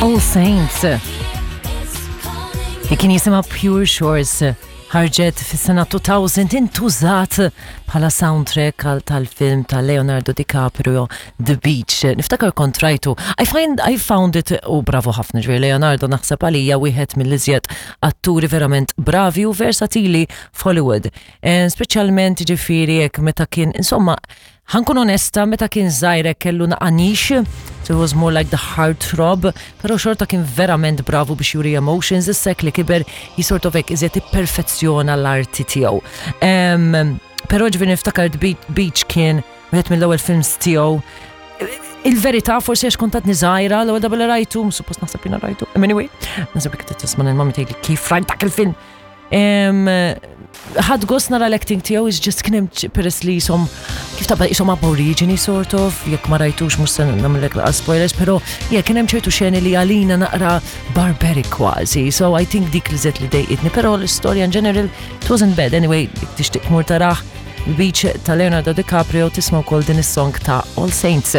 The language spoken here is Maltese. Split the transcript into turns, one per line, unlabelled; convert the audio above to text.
All Saints. Li kien jisimha Pure Shores ħarġet fis-sena 2000 intużat bħala soundtrack għal tal-film ta' Leonardo DiCaprio The Beach. Niftakar kont rajtu. I find I found it u bravo ħafna ġifieri Leonardo naħseb għalija wieħed mill-iżjed atturi verament bravi u versatili f'Hollywood. Eh, speċjalment ġifieri hekk meta kien insomma Ħa nkun onesta, meta kien żgħir hekk kellu naqa nix, so he was more like the heart throb, però xorta kien verament bravu biex juri emotions, issa hekk li kiber he sort of hekk iżjed ipperfezzjona l-arti tiegħu. Però ġifieri niftakar The Beach kien wieħed mill-ewwel films tiegħu. Il-verità forsi għax kont għadni żgħira l-ewwel darba li rajtu, suppost naħseb jiena rajtu. Anyway, naħseb jekk tisma' lil mami tgħidli kif rajt dak il-film. Ħadt gost nara l-acting tiegħu is just kien hemm peress li jisom kif tabba jisom aborigini sort of, jekk ma rajtux mhux se nagħmellek laqas spoilers, però yeah, kien hemm ċertu xeni li għalina naqra barbaric kważi. So I think dik li żed li dejqitni, però l-istorja in general it wasn't bad. Anyway, tixtieq tmur tarah Beach ta' Leonardo DiCaprio tisma' wkoll din is-song ta' All Saints.